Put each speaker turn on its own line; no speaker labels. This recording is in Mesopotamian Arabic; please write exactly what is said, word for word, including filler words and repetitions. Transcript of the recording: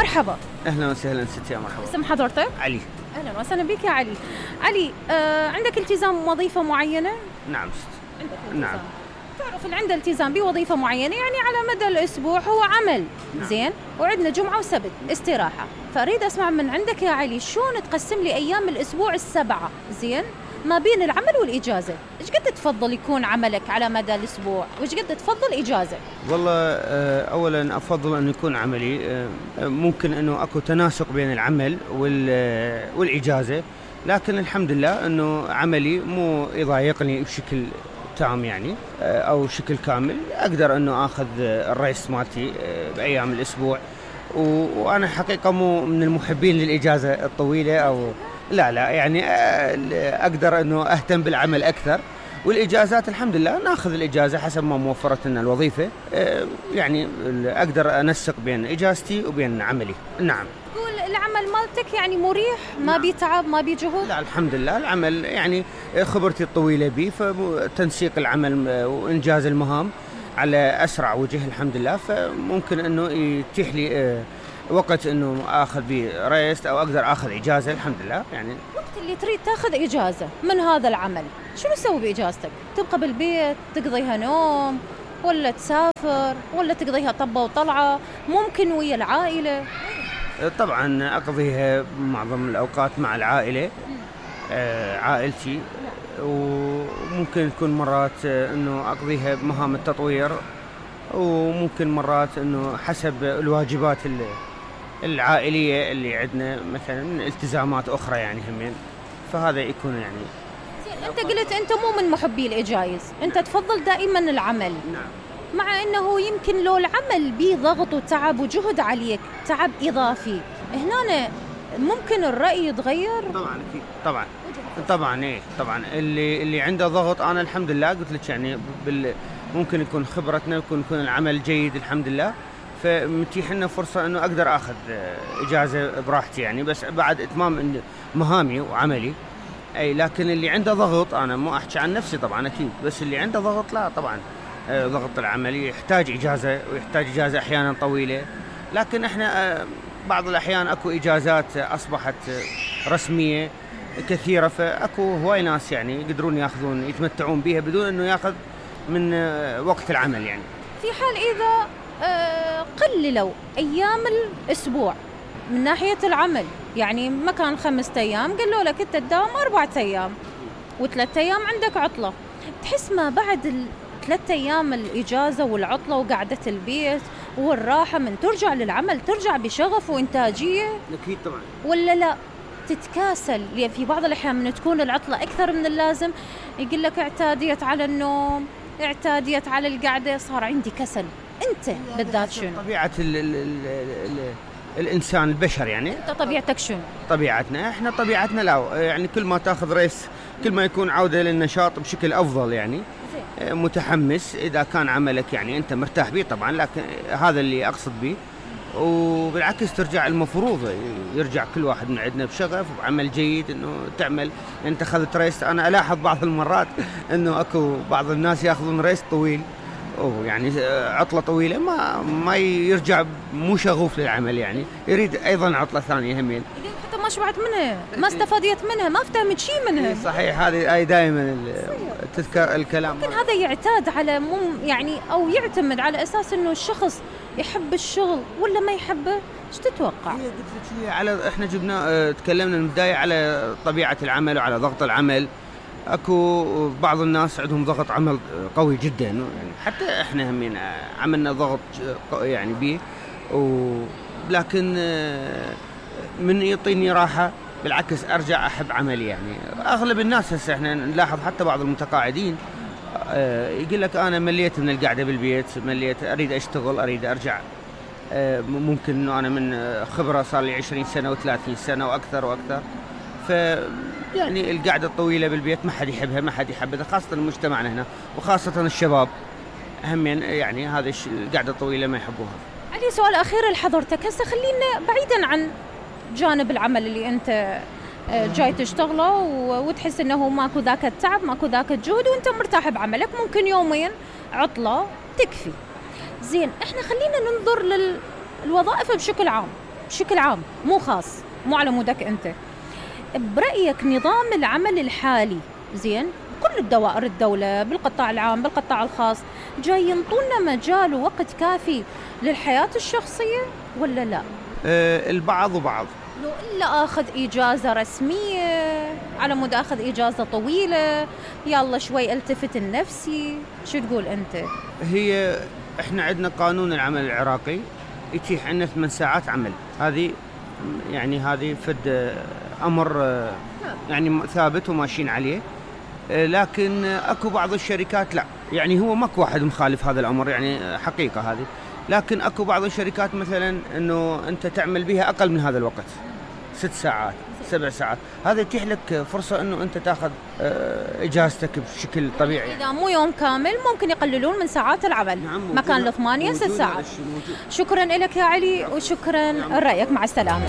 مرحبا.
اهلا وسهلا ستي، مرحبا.
اسم حضرتك؟
علي.
اهلا وسهلا بك يا علي. علي، آه عندك التزام وظيفة معينة؟
نعم ست.
عندك التزام.
نعم.
تعرف اللي عنده التزام بوظيفة معينة يعني على مدى الأسبوع هو عمل. نعم. زين، وعندنا جمعة وسبت استراحة، فأريد أسمع من عندك يا علي شلون تقسم لي أيام الأسبوع السبعة زين ما بين العمل والإجازة؟ إيش قد تفضل يكون عملك على مدى الأسبوع وإيش قد تفضل إجازة؟
والله أولا أفضل أن يكون عملي، ممكن أنه أكو تناسق بين العمل والإجازة، لكن الحمد لله أنه عملي مو يضايقني بشكل تام يعني أو شكل كامل، أقدر أنه أخذ الريست مالتي بأيام الأسبوع، وأنا حقيقة مو من المحبين للإجازة الطويلة أو لا لا يعني أقدر أنه أهتم بالعمل أكثر، والإجازات الحمد لله ناخذ الإجازة حسب ما موفرت لنا الوظيفة، يعني أقدر أنسق بين إجازتي وبين عملي. نعم.
تقول العمل مالتك يعني مريح، ما بيتعب ما بيجهد؟
لا الحمد لله العمل يعني خبرتي الطويلة به، فتنسيق العمل وإنجاز المهام على أسرع وجه الحمد لله، فممكن أنه يتيح لي وقت انه اخذ بيه ريست او اقدر اخذ اجازه الحمد لله. يعني
وقت اللي تريد تاخذ اجازه من هذا العمل شنو تسوي باجازتك؟ تبقى بالبيت تقضيها نوم ولا تسافر ولا تقضيها طبه وطلعه، ممكن ويا العائله؟
طبعا اقضيها معظم الاوقات مع العائله، آه عائلتي، وممكن تكون مرات انه اقضيها بمهام التطوير، وممكن مرات انه حسب الواجبات اللي العائلية اللي عندنا مثلا التزامات أخرى يعني همين، فهذا يكون يعني.
زين، أنت قلت أنت مو من محبي الإجايز، أنت تفضل دائما العمل.
نعم.
مع أنه يمكن لو العمل بيه ضغط وتعب وجهد عليك، تعب إضافي، هنا ممكن الرأي يتغير؟
طبعا أكيد طبعا طبعا إيه طبعا اللي اللي عنده ضغط أنا الحمد لله قلت لك يعني بال ممكن يكون خبرتنا يكون يكون العمل جيد الحمد لله، فمتيح لنا فرصة أنه أقدر أخذ إجازة براحتي يعني، بس بعد إتمام مهامي وعملي. أي لكن اللي عنده ضغط أنا مو أحكي عن نفسي طبعا أكيد، بس اللي عندهضغط لا طبعا ضغط العمل يحتاج إجازة ويحتاج إجازة أحيانا طويلة، لكن إحنا بعض الأحيان أكو إجازات أصبحت رسمية كثيرة، فأكو هواي ناس يعني يقدرون يأخذون يتمتعون بها بدون أنه يأخذ من وقت العمل يعني.
في حال إذا قللوا أيام الأسبوع من ناحية العمل، يعني مكان خمسة أيام قالوا لك أنت تداوم أربعة أيام وثلاثة أيام عندك عطلة، تحس ما بعد الثلاثة أيام الإجازة والعطلة وقعدة البيت والراحة من ترجع للعمل ترجع بشغف وإنتاجية؟
أكيد طبعا.
ولا لا تتكاسل؟ لأن في بعض الأحيان من تكون العطلة أكثر من اللازم يقول لك اعتاديت على النوم، اعتاديت على القعدة، صار عندي كسل. أنت بالذات شنو؟
طبيعة ال ال ال ال الإنسان البشر يعني.
أنت طبيعتك شنو؟
طبيعتنا إحنا طبيعتنا لا يعني كل ما تأخذ ريس كل ما يكون عودة للنشاط بشكل أفضل يعني. زي. متحمس إذا كان عملك يعني أنت مرتاح به طبعا، لكن هذا اللي أقصد به، وبالعكس ترجع المفروض يرجع كل واحد من عندنا بشغف وبعمل جيد انه تعمل. انت اخذت ريست، انا الاحظ بعض المرات انه اكو بعض الناس ياخذون ريست طويل او يعني عطله طويله ما ما يرجع مو شغوف للعمل يعني، يريد ايضا عطله ثانيه همين،
حتى ما شبعت منها ما استفاديت منها ما فهمت شيء منها.
صحيح، هذه اي دائما تذكر الكلام.
ممكن هذا يعتاد على مو يعني او يعتمد على اساس انه الشخص يحب الشغل ولا ما يحبه. ايش تتوقع؟
هي قلت لك على احنا جبنا اه تكلمنا من البدايه على طبيعه العمل وعلى ضغط العمل. اكو بعض الناس عندهم ضغط عمل قوي جدا يعني، حتى احنا همين عملنا ضغط يعني بيه، ولكن من يعطيني راحه بالعكس ارجع احب عملي يعني. اغلب الناس هسه احنا نلاحظ حتى بعض المتقاعدين يقول لك انا مليت من القعده بالبيت، مليت اريد اشتغل اريد ارجع. ممكن انه انا من خبره صار لي عشرين سنه وثلاثين سنه واكثر واكثر، ف يعني القعده الطويله بالبيت ما حد يحبها ما حد يحبها، خاصه مجتمعنا هنا وخاصه الشباب همين يعني هذه القعده الطويله ما يحبوها.
علي سؤال اخير لحضرتك، هسه خلينا بعيدا عن جانب العمل اللي انت جاي تشتغله وتحس انه ماكو ذاك التعب ماكو ذاك الجهد وانت مرتاح بعملك، ممكن يومين عطله تكفي. زين، احنا خلينا ننظر للوظائف بشكل عام، بشكل عام مو خاص، مو على مودك أنت. برأيك نظام العمل الحالي زين كل الدوائر الدولة بالقطاع العام بالقطاع الخاص جاي ينطونا مجال ووقت كافي للحياة الشخصية ولا لا؟
أه البعض وبعض.
لو إلا أخذ إجازة رسمية على مود أخذ إجازة طويلة يلا شوي التفت لنفسي، شو تقول أنت؟
هي إحنا عندنا قانون العمل العراقي يتيح عنا ثمان ساعات عمل، هذه يعني هذه فد أمر يعني ثابت وماشيين عليه. لكن أكو بعض الشركات لا، يعني هو ماكو واحد مخالف هذا الأمر، يعني حقيقة هذه. لكن أكو بعض الشركات مثلا أنه أنت تعمل بها أقل من هذا الوقت، ست ساعات سبع ساعات، هذا يتيح لك فرصة أنه أنت تأخذ إجازتك بشكل طبيعي.
إذا مو يوم كامل ممكن يقللون من ساعات العمل. نعم مكان الثمانية ست ساعات. شكرا لك يا علي وشكرا لرأيك، مع السلامة.